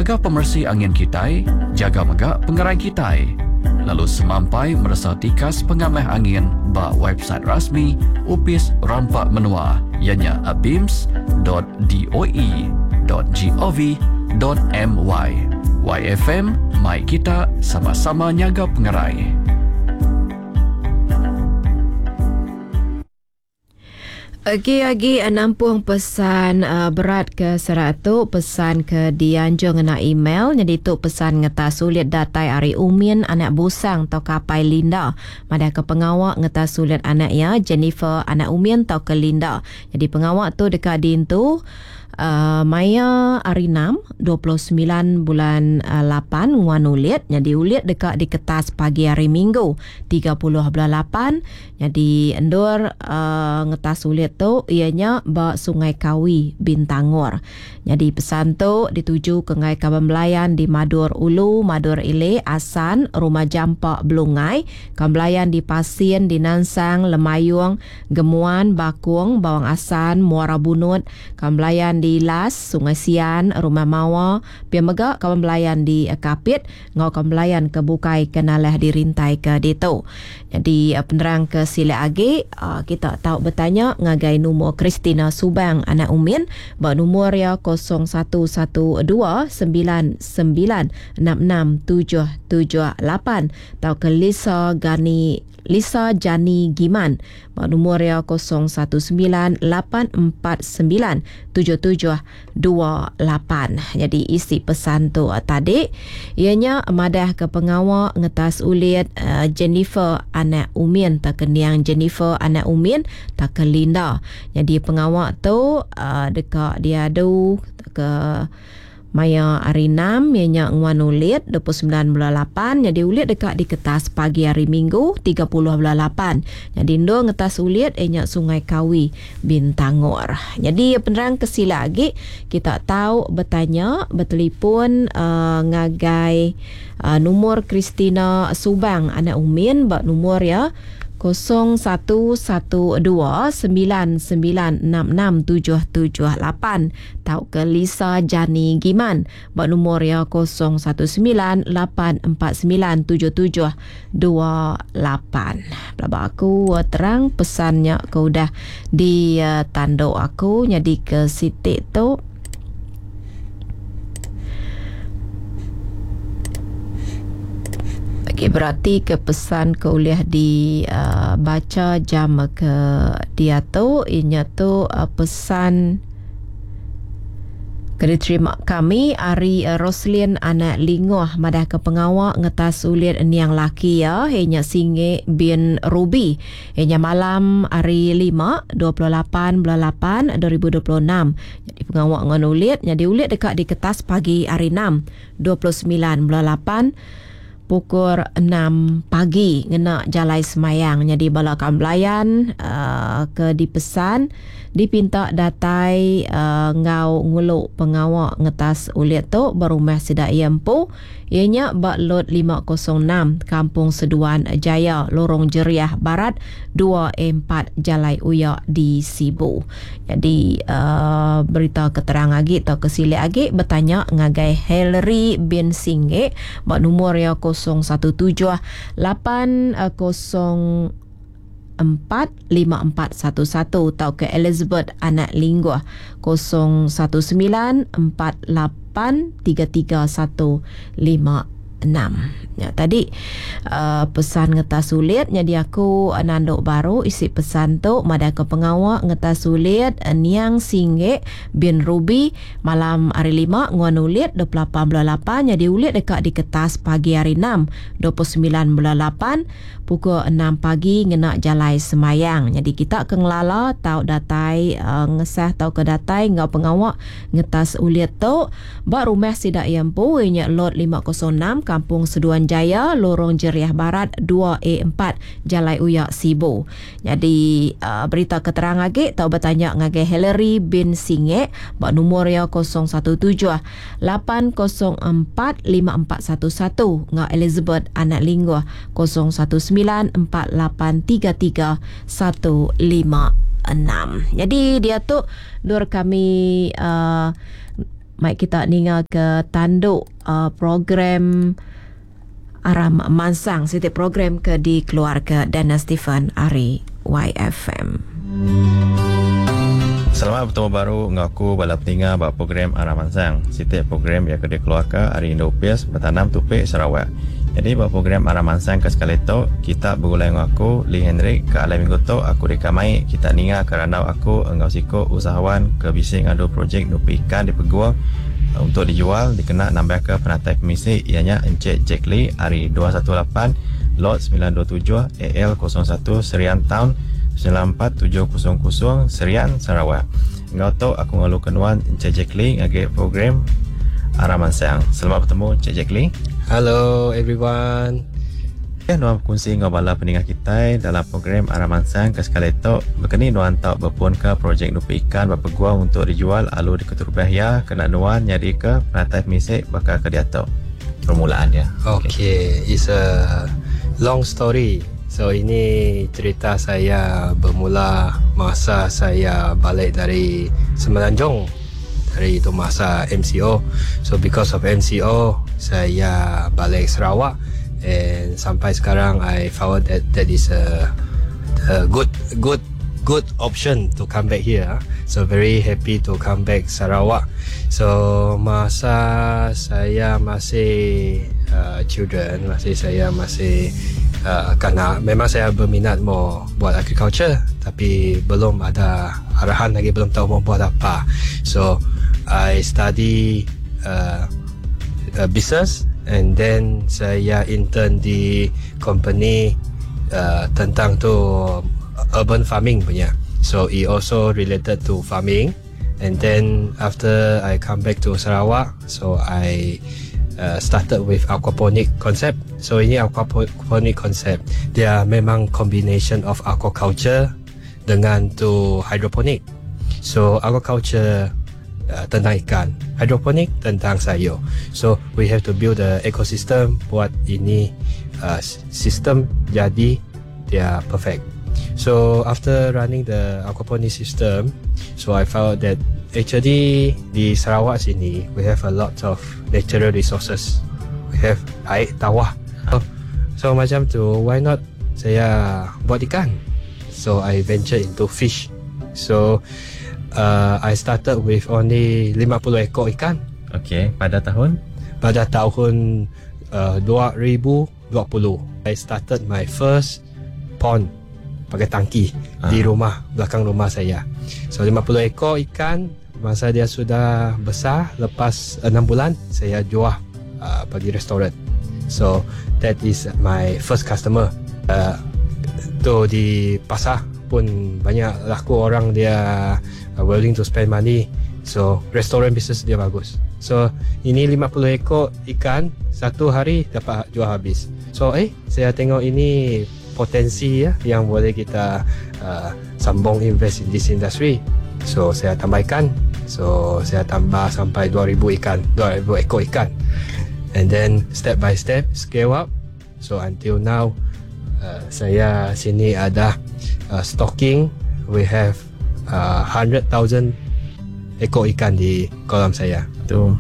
Jaga pemeresi angin kitai, jaga mega pengerai kitai. Lalu semampai meresa tikas pengamah angin ba website rasmi Opis Rampa Menua iya nya abims dot doe dot gov dot my. YFM mai kita sama-sama nyaga pengerai. Agi agi nampung pesan berat ke serak tu pesan ke dianjung ngena email nyadi tu pesan ngetas sulit datai ari Umin anak Busang tauka apai Linda madah ke pengawa ngetas sulit anak iya Jennifer anak Umin tauka Linda. Nyadi pengawa tu deka diintu Maya hari enam, 29 bulan lapan nguan ulit nyadi ulit deka diketas pagi hari Minggu, 30 bulan lapan. Nyadi endur ngetas ulit tu iya nya ba Sungai Kawi, Bintangor. Nyadi pesan tu dituju ke ngagai kaban belayan di Madur Ulu, Madur Ili, Asan, Rumah Jampa Belungai, kaban belayan di Pasin, di Nansang, Lemayung, Gemuan, Bakong, Bawang Asan, Muara Bunut, Kaban belayan di Las, Sungai Sian, Rumah Mawa, pia mega kaban belayan di Kapit enggau kaban belayan ke bukai ke nalah dirintaika ditu. Nyadi penerang ke silik agi kita tau betanya ngagai numur Christina Subang anak Umin ba numur iya 0112 99 66 778 tauka Lisa Gani Lisa Jani Giman ba numur iya 0198497728. Nyadi isi pesan tu tadi iya nya madahka pengawa ngetas ulit Jennifer anak Umin tauka niang Jennifer anak Umin tauka Linda. Nyadi pengawa tu deka diadu tauka Maya hari enam iya nya nguan ulit 29 bulan lapan nyadi ulit deka diketas pagi hari minggu 30 bulan lapan. Nyadi endur ngetas ulit iya nya Sungai Kawi, Bintangor. Nyadi penerang ke sila agi kita tau betanya betelipon uhh ngagai uhh numur Christina Subang anak Umin ba numur iya 0112 9966 778. tauka Lisa Jani Giman ba numur iya 0198497728. Pelaba aku terang pesan nya ke udah ditandu aku nyadi ke siti tu. Okey berati ke pesan ke ulih dibacha jam ke diatu inya tu pesan Ke diterima kami ari Roslin anak Lingoh madahka pengawa ngetas ulit niang laki iya iya nya Singe bin Ruby iya nya malam hari Lima, 28 bulan lapan 2026. Nyadi pengawa ngan ulit nyadi ulit deka diketas pagi hari Enam, 29 bulan lapan pukul enam pagi ngena jalai semayang nyadi bala kaban belayan uhh ke dipesan dipinta datai uhh enggau ngulu pengawa ngetas ulit tu ba rumah sida iya empu iya nya ba Lot 506 Kampung Seduan Jaya Lorong Jeriah Barat dua A empat Jalai Uya di Sibu. Nyadi uhh berita ke terang agi tauka silik agi betanya ngagai Hillary bin Singge ba numur iya 017 804 5411 tauka Elizabeth anak Lingguh 019 48 33 1 56. Nya tadi uh, pesan ngetas sulit nyadi aku nandu baru isi pesan tu madahka pengawa ngetas sulit niang Singge bin Ruby malam hari lima nguan ulit 28 bulan lapan nyadi ulit deka diketas pagi hari enam 29 bulan lapan pukul enam pagi ngena jalai semayang. Nyadi kita ke ngelala tau datai uh, ngesah tauka datai enggau pengawa ngetas ulit tu Ba rumah sida iya empu iya nya Lot 506 Kampung Seduan Jaya, Lorong Jeriah Barat dua A empat, Jalai Uya, Sibu. Nyadi berita ke terang agi tau betanya ngagai Hillary bin Singek ba numur iya 017 804 5411 enggau Elizabeth anak Linggoh 019 4833 156. Nyadi diatu endur kami uhh. Mai kita ninga ke tandu program Aram Mansang siti program ke dikeluarka Dennis Stephen ari YFM. Selamat betemu baru enggau aku bala peninga ba program Aram Mansang. Siti program iya ke dikeluarka ari Indu Opis Betanam Tupi Sarawak. Nyadi ba program Aram Mansang ke sekali tu, kita begulai enggau aku Lee Henry ke alai minggu tu aku deka mai kita ninga ke randau aku enggau siku usahawan ke bisi ngadu projek nupi ikan di Peguh untuk dijual dikena nambahka penatai pemisi iya nya Encik Jack Lee ari 218 Lot 927 AL 01 Serian Town 94700 Serian, Sarawak. Enggau tu aku ngaluka nuan Encik Jack Lee ngagai program Aram Mansang. Selamat betemu Encik Jack Lee. Hello everyone. Ulih nuan bekunsi enggau bala peningah kitai dalam program Aram Mansang ke sekali tu baka ni nuan tau bepunka projek nupi ikan ba peguang untuk dijual alu diketerubah iya kena nuan nyadika penatai pemisi baka ke diatu. Permulaan dia. Okay, it's a long story. So ini cerita saya bermula masa saya balik dari Semenanjung dari itu masa MCO. So because of MCO, saya balik Sarawak and sampai sekarang I found that that is a good good good option to come back here. So very happy to come back Sarawak. So masa saya masih children, masih saya masih karena memang saya berminat mau buat agriculture tapi belum ada arahan lagi, belum tahu mau buat apa. So I study business and then saya intern di company tentang tu urban farming punya. So it also related to farming. And then after I come back to Sarawak, so I started with aquaponic concept. So ini aquaponic concept, dia memang combination of aquaculture dengan tu hydroponic. So aquaculture tentang ikan, hydroponic tentang sayur. So we have to build the ecosystem buat ini sistem jadi dia perfect. So after running the aquaponic system, so I found that actually di Sarawak sini we have a lot of natural resources. We have air tawar. So macam tu, why not saya buat ikan? So I venture into fish. So I started with only 50 ekor ikan. Okey, pada tahun? Pada tahun 2020. I started my first pond pakai tangki di rumah, belakang rumah saya. So 50 ekor ikan, masa dia sudah besar, lepas 6 bulan saya jual bagi restoran. So that is my first customer. Tu di pasar pun banyak laku, orang dia willing to spend money. So restoran business dia bagus. So ini 50 ekor ikan satu hari dapat jual habis. So saya tengok ini potensi ya yang boleh kita sambung invest in this industry. So saya tambah ikan. So saya tambah sampai 2000 ikan, 2000 ekor ikan. And then step by step scale up. So until now saya sini ada stocking, we have 100,000 ekor ikan di kolam saya. Tu.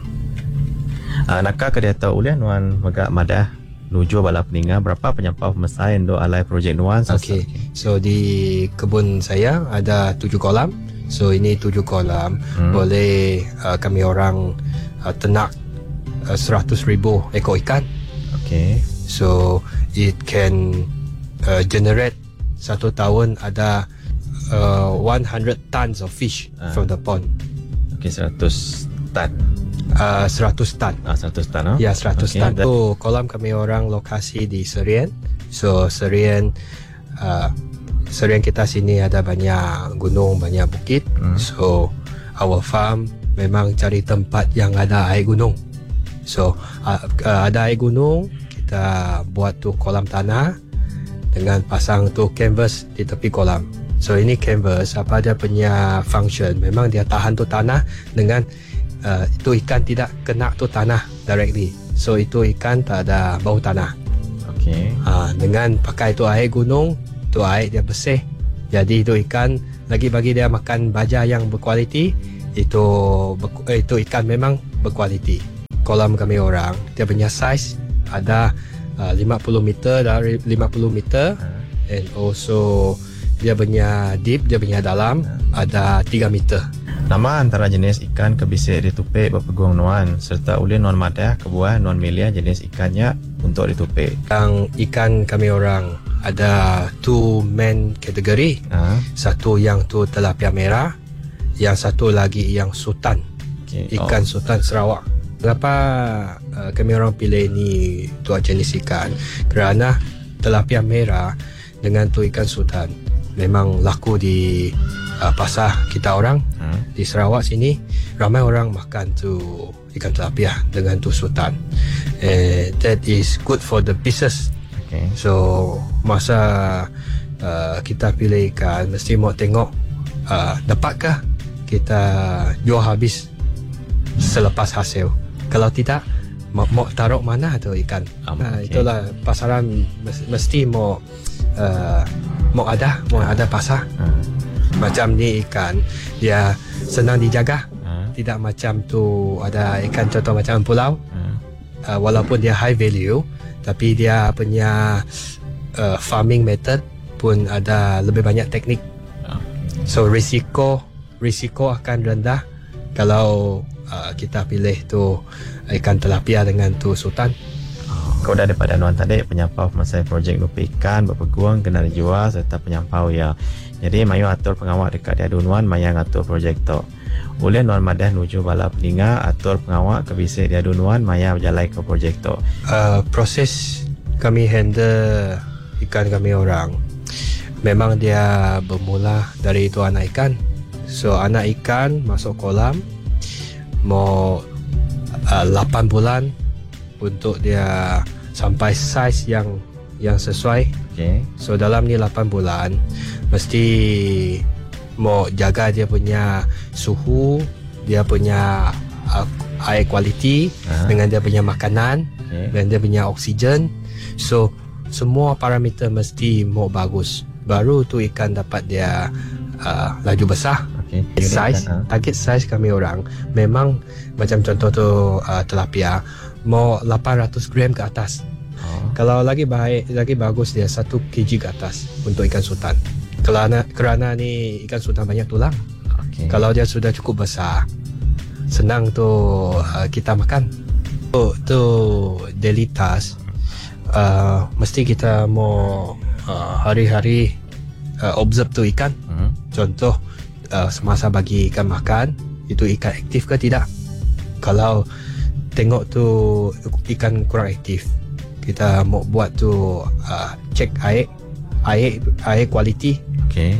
Naka ke dia tahu ulih nuan mega madah nuju bala peninga berapa penyampau pemesai untuk alai projek nuan? Okey. So di kebun saya ada 7 kolam. So ini 7 kolam boleh kami orang ternak 100,000 ekor ikan. So it can generate satu tahun ada 100 tons of fish from the pond. Okey, 100 tan. 100 tan. 100 tan, oh? Ya, 100 tan. Tu kolam kami orang lokasi di Serian. So Serian kita sini ada banyak gunung, banyak bukit. So our farm memang cari tempat yang ada air gunung. So ada air gunung, kita buat tu kolam tanah dengan pasang tu canvas di tepi kolam. So ini canvas, apa dia punya function? Memang dia tahan tu tanah dengan itu ikan tidak kena tu tanah directly. So itu ikan tak ada bau tanah. Dengan pakai tu air gunung, tu air dia bersih. Jadi itu ikan lagi bagi dia makan baja yang berkualiti, itu ikan memang berkualiti. Kolam kami orang dia punya size ada 50 meter dari 50 meter and also dia punya deep, dia punya dalam ada 3 meter. Nama antara jenis ikan ke bisi ditupi ba pegung nuan serta ulih nuan madah kebuah nuan milih jenis ikan nya untuk ditupi. Yang ikan kami orang ada two main kategori. Satu yang tu tilapia merah, yang satu lagi yang sultan. Ikan sultan Sarawak. Kenapa kami orang pilih ni dua jenis ikan? Kerana tilapia merah dengan tu ikan sultan memang laku di pasar kita orang. Di Sarawak sini ramai orang makan tu ikan tilapia dengan tu sultan. That is good for the business. So masa kita pilih ikan mesti mau tengok dapatkah kita jual habis selepas hasil. Kalau tidak, mau taruh mana tu ikan? Itulah pasaran mesti mau ada pasar. Macam ni ikan dia senang dijaga. Tidak macam tu ada ikan contoh macam pulau. Walaupun dia high value, tapi dia punya farming method pun ada lebih banyak teknik. So risiko akan rendah kalau kita pilih tu ikan tilapia dengan tu sultan. Kau dah daripada nuan tadi penyampau masa projek nupi ikan berpeguang kena dijual serta penyampau ya. Jadi mayu atur pengawal dekat dia nuan maya ngatur projek tu. Oleh nuan madah nuju bala peninga atur pengawal ke bisik dia nuan maya berjalan ke projek tu. Proses kami handle ikan kami orang memang dia bermula dari itu anak ikan. So anak ikan masuk kolam mau 8 bulan untuk dia sampai saiz yang sesuai. So dalam ni 8 bulan mesti mau jaga dia punya suhu, dia punya air kualiti, dengan dia punya makanan, dan dia punya oksigen. So semua parameter mesti mau bagus. Baru tu ikan dapat dia laju besar. Size, target size kami orang memang macam contoh tu tilapia mau 800 gram ke atas. Kalau lagi baik, lagi bagus dia 1 kg ke atas untuk ikan sultan. Kerana ni ikan sultan banyak tulang. Kalau dia sudah cukup besar, senang tu kita makan. Tu daily task, mesti kita mau hari-hari observe tu ikan. Contoh semasa bagi ikan makan, itu ikan aktif ke tidak. Kalau tengok tu ikan kurang aktif, kita mau buat tu check air kualiti.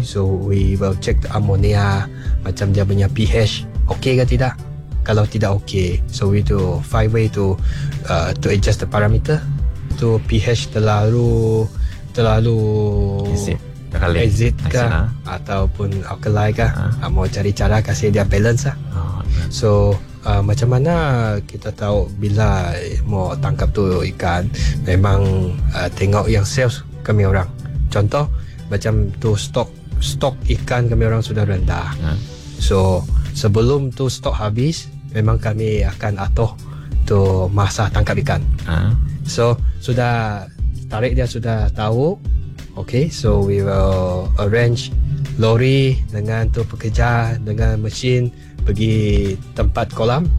So we will check the ammonia, macam dia punya pH okey ke tidak. Kalau tidak okey, so we do five way to adjust the parameter. Tu pH terlalu Acid. Terlalu acid ke, acid, ha? ataupun alkali ke, mau cari cara kasih dia balance lah. So macam mana kita tahu bila mau tangkap tu ikan? Memang tengok yang sales kami orang. Contoh macam tu stok ikan kami orang sudah rendah. So sebelum tu stok habis, memang kami akan atur tu masa tangkap ikan. So sudah tarik dia sudah tahu. Okay, so we will arrange lori dengan tu pekerja dengan mesin pergi tempat kolam.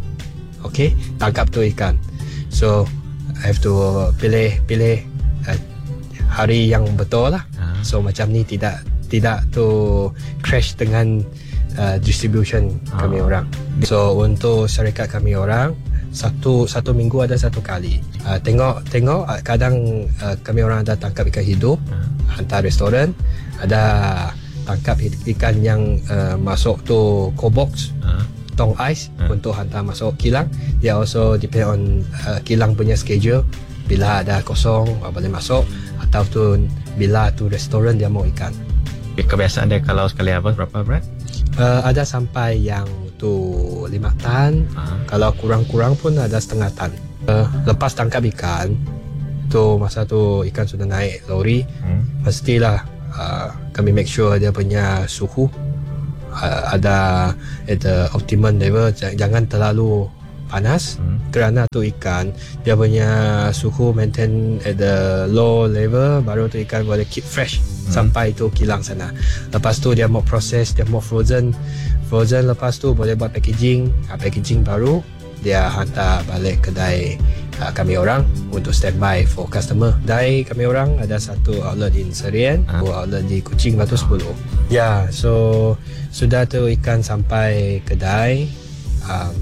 Okay, tangkap tu ikan. So I have to pilih hari yang betul lah. So macam ni tidak tu crash dengan distribution kami orang. So untuk syarikat kami orang satu minggu ada satu kali. Tengok kadang kami orang ada tangkap ikan hidup, hantar restoran, ada tangkap ikan yang masuk tu cold box, tong ais untuk hantar masuk kilang. Dia also depend on kilang punya schedule. Bila ada kosong boleh masuk, atau tu bila tu restoran dia mau ikan. Kebiasaan dia kalau sekali habis berapa berat? Ada sampai yang tu 5 tan. Kalau kurang-kurang pun ada setengah tan. Lepas tangkap ikan tu masa tu ikan sudah naik lori, mestilah kami make sure dia punya suhu ada at the optimum level. Jangan terlalu panas kerana tu ikan dia punya suhu maintain at the low level, baru tu ikan boleh keep fresh sampai tu kilang sana. Lepas tu dia mau proses, dia mau frozen. Frozen lepas tu boleh buat packaging. Ha, packaging baru dia hantar balik kedai kami orang untuk standby for customer. Kedai kami orang ada satu outlet in Serian, dua outlet di Kuching Batu 10. Ya, so sudah tu ikan sampai kedai,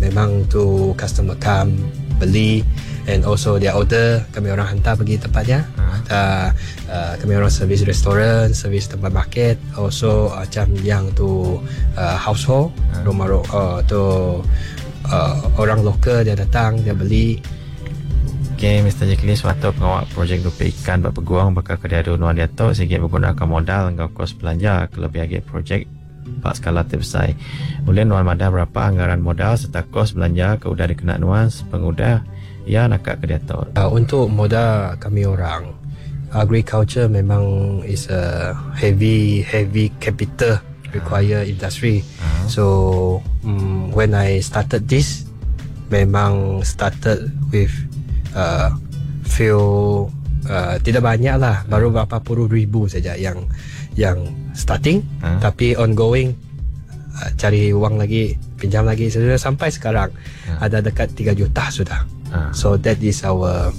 memang tu customer come beli and also dia order, kami orang hantar pergi tempatnya. Ada kami orang servis restoran, servis tempat market, also macam yang tu household, rumah tu orang lokal dia datang dia beli. Okay, Mr. Jacqueline, suatu pengawal projek dupi ikan bak peguang bakal ke diadu nuan dia tu sehingga menggunakan modal dengan kos belanja kelebih lagi projek bak skala terbesar. Boleh nuan madah berapa anggaran modal serta kos belanja ke udah dikena nuan sepengudah ya nak ke dia tu. Untuk modal kami orang, agriculture memang is a heavy heavy capital require industry. So when I started this, memang started with few tidak banyak lah, baru berapa puluh ribu saja yang yang starting, tapi ongoing cari wang lagi, pinjam lagi, sudah sampai sekarang ada dekat 3 juta sudah. So that is our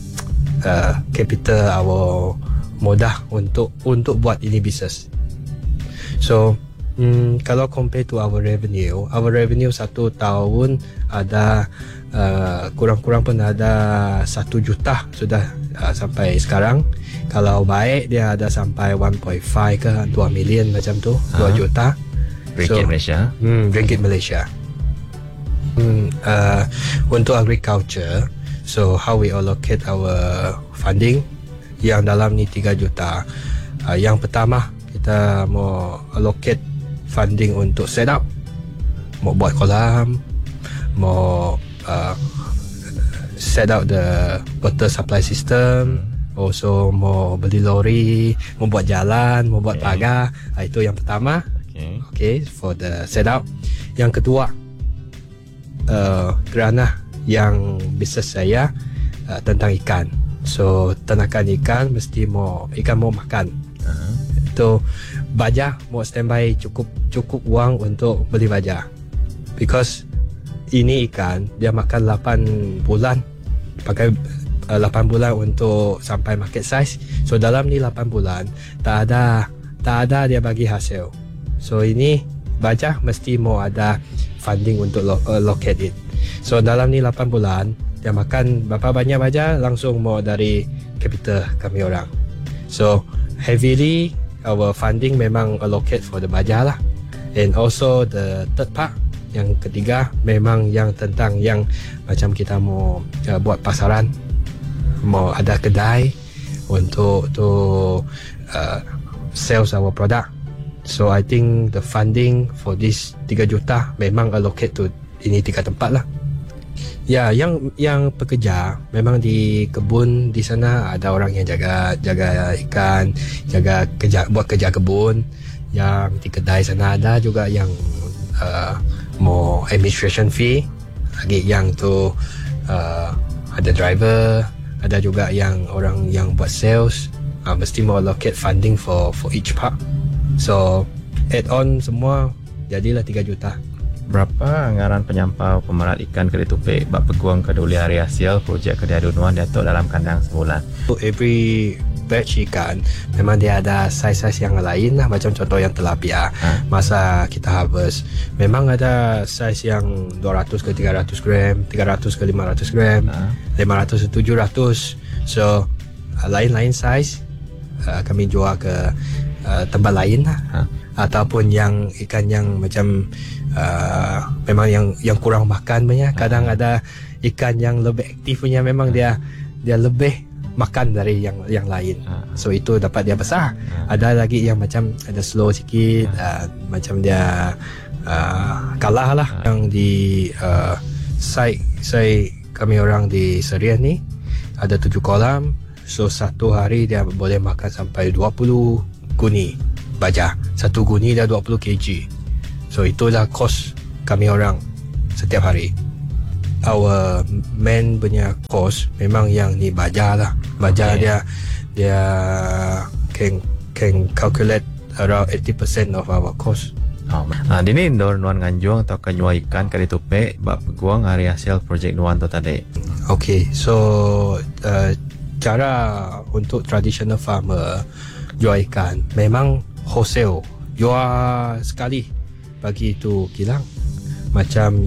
capital, our modal untuk untuk buat ini business. So kalau compare to our revenue, our revenue satu tahun ada kurang-kurang pun ada 1 juta sudah sampai sekarang. Kalau baik dia ada sampai 1.5 ke 2 million macam tu, 2 juta. Ringgit Malaysia. Ringgit Malaysia. Untuk agriculture, so how we allocate our funding yang dalam ni 3 juta. Yang pertama kita mau allocate funding untuk set up, mau buat kolam, mau set up the water supply system, also mau beli lori, mau buat jalan, mau buat pagar. Itu yang pertama. Okay, for the setup. Yang kedua, kerana yang bisnes saya tentang ikan. So, ternakan ikan mesti mau ikan mau makan. Itu baja mau standby cukup cukup wang untuk beli baja. Because ini ikan dia makan 8 bulan, pakai 8 bulan untuk sampai market size. So dalam ni 8 bulan tak ada tak ada dia bagi hasil. So ini baja mesti mau ada funding untuk allocate it. So dalam ni 8 bulan dia makan berapa banyak baja langsung mau dari capital kami orang. So heavily our funding memang allocate for the baja lah. And also the third part, yang ketiga memang yang tentang yang macam kita mau buat pasaran, mau ada kedai untuk to sales our product. So I think the funding for this 3 juta memang allocate to ini tiga tempat lah. Ya, yang yang pekerja memang di kebun di sana ada orang yang jaga jaga ikan, jaga kerja, buat kerja kebun. Yang di kedai sana ada juga yang mau administration fee. Lagi yang tu ada driver, ada juga yang orang yang buat sales. Mesti mau allocate funding for for each part. So add on semua jadilah 3 juta. Berapa anggaran penyampau pemerat ikan ke ditupik bak peguang ke duli hari hasil projek ke diadu nuan datuk dalam kandang sebulan? Every batch ikan memang dia ada saiz-saiz yang lain lah, macam contoh yang tilapia masa kita harvest memang ada saiz yang 200 ke 300 gram, 300 ke 500 gram, 500 ke 700. So lain-lain saiz kami jual ke tempat lain lah. Ataupun yang ikan yang macam memang yang yang kurang makan punya, kadang ada ikan yang lebih aktif punya, memang dia dia lebih makan dari yang yang lain. So itu dapat dia besar. Ada lagi yang macam ada slow sikit, macam dia kalah lah. Yang di site saya, kami orang di Serian ni ada tujuh kolam. So satu hari dia boleh makan sampai 20 guni baja. Satu guni dah 20 kg. So itulah kos kami orang setiap hari. Our main punya cost memang yang ni baja lah. Baja Okay. dia dia can can calculate around 80% of our cost. Oh. Ha, dini endor nuan nganjung atau ke nyua ikan ke ditupik bak peguang hari hasil projek nuan tu tadi. Okay, so cara untuk traditional farmer jual ikan memang wholesale, jual sekali bagi itu kilang. Macam